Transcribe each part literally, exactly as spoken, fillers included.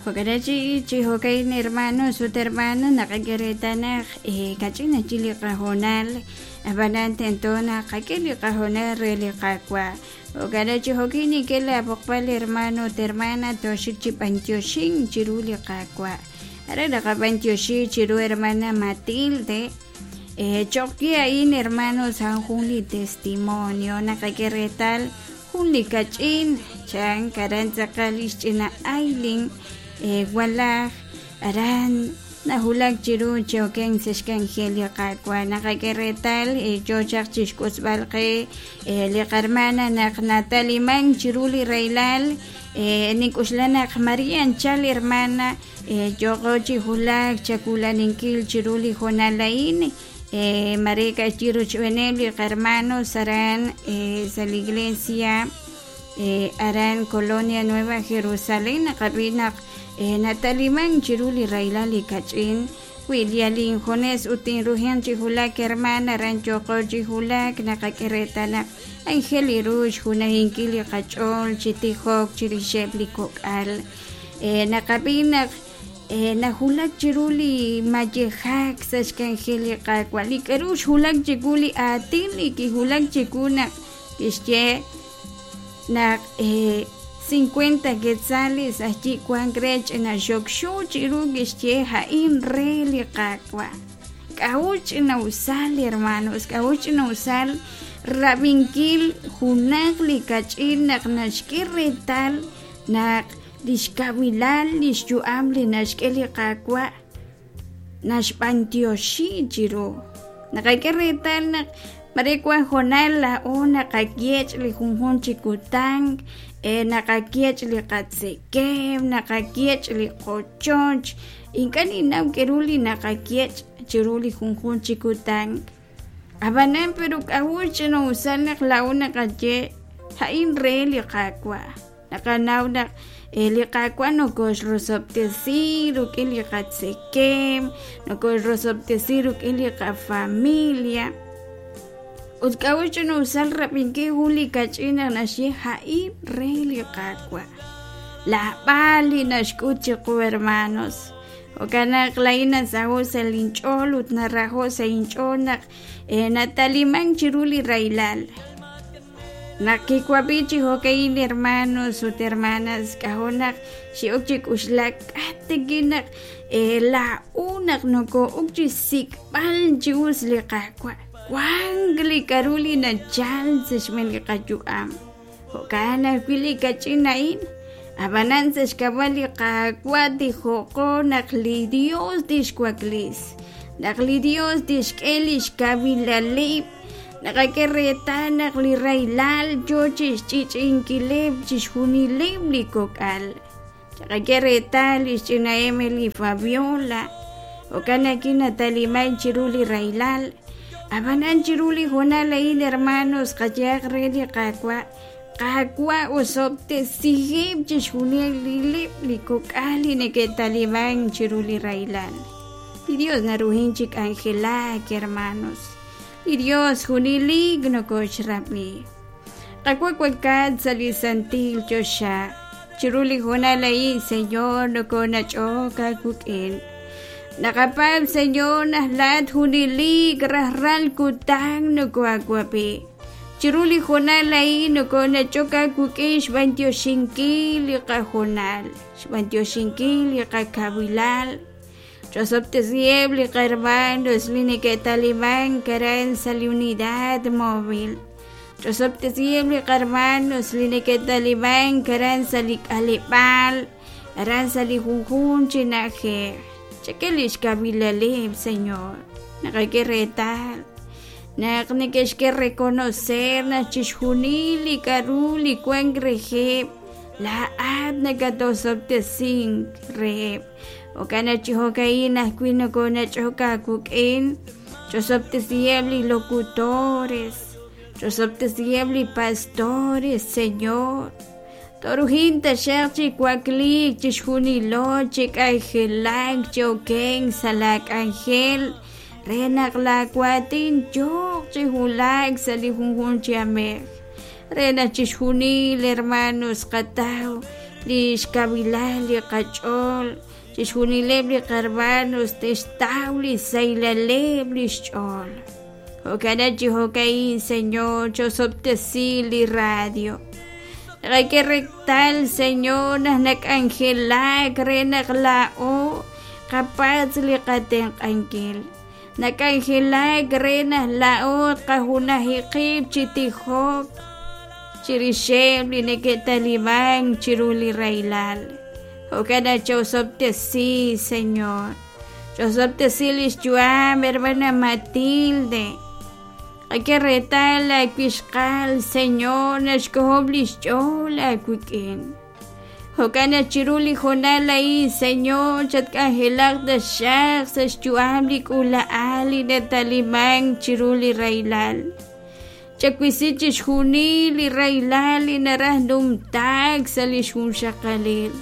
Jo'kanachi chi jo'kan hermanos ut hermanas naqak'e reetal naq kach'in ajwi' li qahoonal ab'anan tento naq qak'e li qahoonal re li Qaawa'. Jo'kanachi jo'kin nink'e laab'oqb'al hermano ut hermana tooxik chi b'antioxink chiru li Qaawa'. Aran naqab'antioxi chiru hermana Matilde. Cho'q we a'in hermanos a'an jun li testimonio naqak'e reetal jun li kach'in chan aran tz'aqal li xch'ina Aylin walaj aran nawulak chiru chi okenk sa' xk'anjel li Qaawa'. Naqak'e reetal yo chaq chixk'utzb'al qe li qarmana naq natalimank chiru li rahilal nink'uxla naq Maria anchal hermana yooqo chi wulak chawulaninkil chiru li hoonal a'in mare ka'ajwi' rochb'eeneb' li qarmanos aran sa' li iglesia aran Colonia Nueva Jerusalén naqab'i naq natalimank chiru li rahilal li kach'in wi yal injunes ut tinruhin chi wulak hermana aran yooqo chi wulak naqak'e reetal naq anjel li ru xjunajinkil li qach'ool chi tijok chirixeb' li kok'al naqab'i naq nawulak chiru li mayejak sa' xk'anjel li Qaawa'. Li k'aru xwulak chiwu li aatin li kiwulak chiwu naq kixye naq cincuenta quetzales ajwi' wank re ch'ina xokxo chiru kixye a'in re li Qaawa'. K'a'ut ch'ina'usal hermanos, k'a'ut ch'ina'usal rab'inkil junaq li kach'in naq naxk'e reetal naq li xkawilal li xyu'am li naxk'e li Qaawa' naxb'antioxi chiru. Naqak'e reetal naq mare wan hoonal laa'o naqayech' li junjun chi kutan naqayech' li qatzekemq, naqayech' li qochoch, ink'a' ninnaw k'aru li naqayech' chiru li junjun chi kutan. Ab'anan pero k'a'ut ch'ina'usal naq laa'o naqaye a'in re li Qaawa'. Naqanaw naq li Qaawa' nokoxrosob'tesi rik'in li qatzekemq, nokoxrosob'tesi rik'in li qafamilia. Ut k'a'ut ch'ina'usal rab'inkil jun li kach'in naq naxye a'in re li Qaawa'. Laab'al li naxk'ut chiqu hermanos. Jo'kan naq laa'in nasaho' sa' linch'ool ut naraho' sa' inch'ool naq natalimank chiru li rahilal. Naq kiwab'i chi jo'ka'in hermanos ut hermanas k'a'jo naq xi'ok chi k'uxlak k'ateki naq laa'o naq noko'ok chi sik'b'al chi us li Qaawa'. Wank li k'aru li nachal sa' xb'een li qayu'am. Jo'kan ajwi' li kach'in a'in. Ab'anan sa' xk'ab'a' li Qaawa' tijoqo naq li Dios tixwaklis, naq li Dios tixk'e li xkawilaleb'. Naqak'e reetal naq li rahilal yo chi xch'ich'inkileb' chixjunileb' li kok'al. Chaqak'e reetal li xch'ina Emily Fabiola. Jo'kan naq natalimank chiru li rahilal. Ab'anan chiru li hoonal a'in hermanos qayehaq re li Qaawa'. Qaawa' osob'tesiheb' chixjunileb' li kok'al li neke'talimank chiru li rahilal. Li Dios naruhin chi k'anjelak hermanos. Li Dios junelik nokoxrab'i. Qaawa' wankat sa' li santil choxa. Chiru li hoonal a'in Señor nokonach'ok aawik'in. Naqapaab' Señor naq laa'at junelik rajlal kutan nokoaawab'i. Chiru li hoonal a'in nokonach'ok aawik'in xb'antioxinkil li qahoonal, xb'antioxinkil li qakawilal. Chosob'tesiheb' li qarmanos li neke'talimank aran sa' li unidad móvil. Chosob'tesiheb' li qarmanos li neke'talimank aran sa' li k'aleb'aal, aran sa' li junjun chi na'ajej. Chak'e li xkawilaleb', Señor. Naqak'e reetal naq neke'xk'e reconocer naq chixjunil li k'aru li wank reheb' laa'at nakatosob'tesink reheb'. Jo'kan naq chi jo'ka'in ajwi' nokonach'ok aawik'in. Chosob'tesiheb' li locutores, chosob'tesiheb' li pastores, Señor. Torujin taxaq chi wakliik chixjunilo chi k'anjelak chi okenk sa' la k'anjel re naq laawatin yooq chi wulak sa' li junjun chi amej. Re naq chixjunil hermanos qataw li xkawilal li qach'ool chixjunileb' li qarmanos te'xtaw li saylaleb' li xch'ool. Jo'kan chi jo'ka'in, Señor, chosob'tesi li radio. Naqak'e reetal, Señor, naq nak'anjelak re naq laa'o qapatz' li qatenq'ankil. Nak'anjelak re naq laa'o qajunaji qib' chi tijok chirixeb' li neke'taliman chiru li rahilal. Jo'kan chosob'tesi, Señor. Chosob'tesi li xyu'am, hermana Matilde. Qak'e reetal aawixqal, Señor, naxk'ojob' li xch'ool aawik'in. Jo'kan chiru li hoonal a'in, Señor, chatk'anjelaq taxaq sa' xyu'am li k'uula'al li nataliman chiru li rahilal. Chawisi chixjunil li rahilal li naraj numtaak sa' li xjunxaqalil.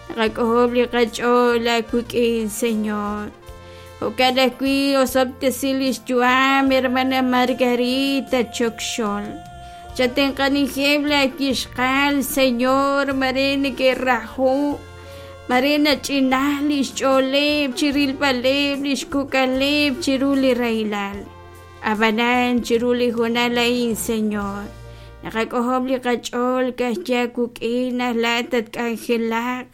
Naqak'ojob' li qach'ool aawik'in, Señor. Jo'kan ajwi' osob'tesi li xyu'am, hermana Margarita Chokxol. Chatenq'anijeb' laawixqal, Señor, mare neke'raju, mare nach'inaj li xch'ooleb' chirilb'aleb' li xkok'aleb' chiru li rahilal. Ab'anan chiru li hoonal a'in, Señor, naqak'ojob' li qach'ool ka'ajwi' aawik'in naq laa'at tatk'anjelaq,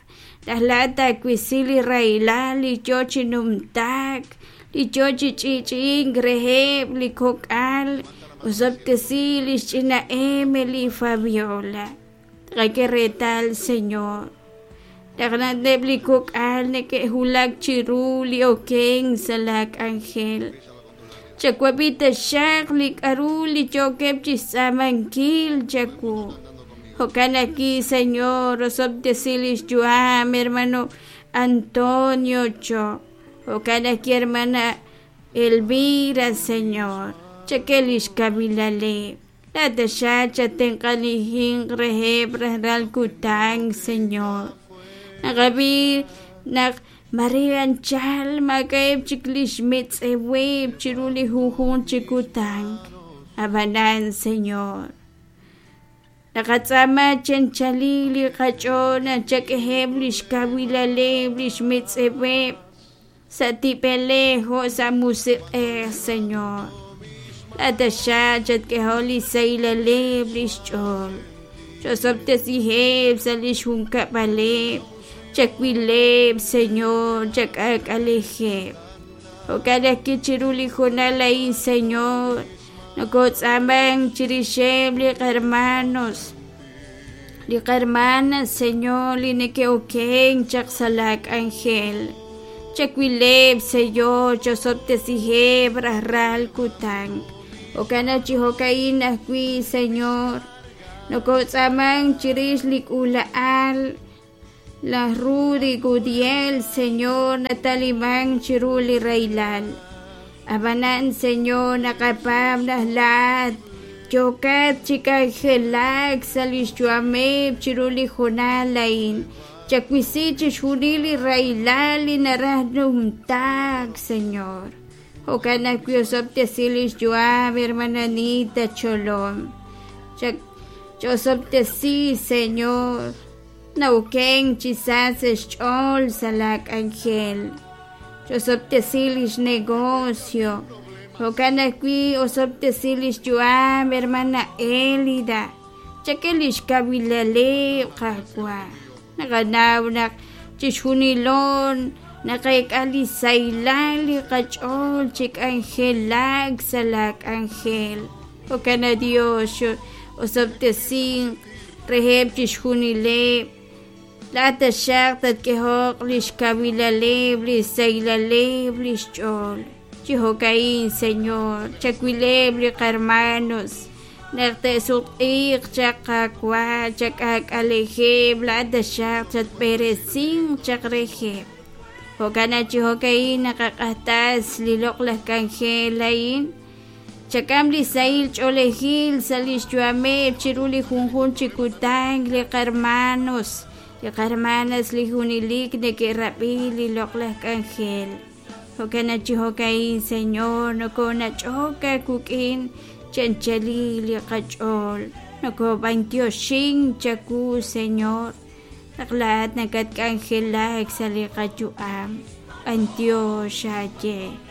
naq laa'at taawisi li rahilal li yoo chi numtaak, li yoo chi ch'i'ch'i'ink reheb' li kok'al. Osob'tesi li xch'ina Emily Fabiola. Qak'e reetal, Señor, naq na'leb' li kok'al neke'wulak chiru li okenk sa' laak'anjel. Chawab'i taxaq li k'aru li yookeb' chixtz'aamankil chawu. Jo'kan ajwi', Señor, osob'tesi li xyu'am, hermano Antonio Cho. Jo'kan ajwi', hermana Elvira, Señor. Chak'e li xkawilaleb'. Laa'at taxaq chatenq'anijinq reheb' rajlal kutan, Señor. Naqab'i naq mare anchal maak'a'eb' chik li xmetz'eweb' chiru li junjunq chi kutan. Ab'anan, Señor, naqatz'aama chanchali li qach'ool naq chak'eheb' li xkawilaleb' li xmetz'eweb' sa' tib'elej jo' sa' musiq'ej, Señor. Laa'at taxaq chatk'ehol li saylaleb' li xch'ool. Chosob'tesiheb' sa' li xjunkab'aleb'. Chawileb', Señor, chak'aak'alejeb'. Jo'kan ajwi' chiru li hoonal a'in, Señor, nokotz'aaman chirixeb' li qarmanos, li qarmanas, Señor, li neke'okenk chaq sa' laak'anjel. Chawileb', Señor, chosob'tesiheb' rajlal kutan. Jo'kan chi jo'ka'in ajwi', Señor, nokotz'aaman chirix li k'uula'al laj Rudy Gudiel, Señor, nataliman chiru li rahilal. Ab'anan, Señor, naqapaab' naq laa'at yookat chi k'anjelak sa' li xyu'ameb' chiru li hoonal a'in. Chawisi chixjunil li rahilal li naraj numtaak, Señor. Jo'kan ajwi' osob'tesi li xyu'am, hermana Anita Cholom. Chosob'tesi, Señor, na'okenk chi sa sa' xch'ool sa' laak'anjel. Chosob'tesi li xnegocio. Jo'kan ajwi' osob'tesi li xyu'am, hermana Elida. Chak'e li xkawilaleb' Qaawa'. Naqanaw naq chixjunilon naqeek'a li saylal li qach'ool chi k'anjelak sa' laak'anjel. Jo'kan Dios, osob'tesinq reheb' chixjunileb'. Laa'at taxaq tatk'ehoq li xkawilaleb' li saylaleb' li xch'ool. Chi jo'ka'in, Señor, chawileb' li qarmanos naq te'sutq'iiq chaq Qaawa', chak'aak'alejeb', laa'at taxaq chatb'eresinq chaq reheb'. Jo'kan chi jo'ka'in naqaq'ajtas li loq'laj k'anjel a'in. Chak'am li sahil ch'oolejil sa' li xyu'ameb' chiru li junjunq chi kutan li qarmanos, li qarmanas li junelik neke'rab'i li loq'laj k'anjel. Jo'kan chi jo'ka'in, Señor, nokonach'ok aawik'in chanchali li qach'ool. Nokob'antioxin chawu, Señor. Naq laa'at nakatk'anjelak sa' li qayu'am. B'antiox xaaye.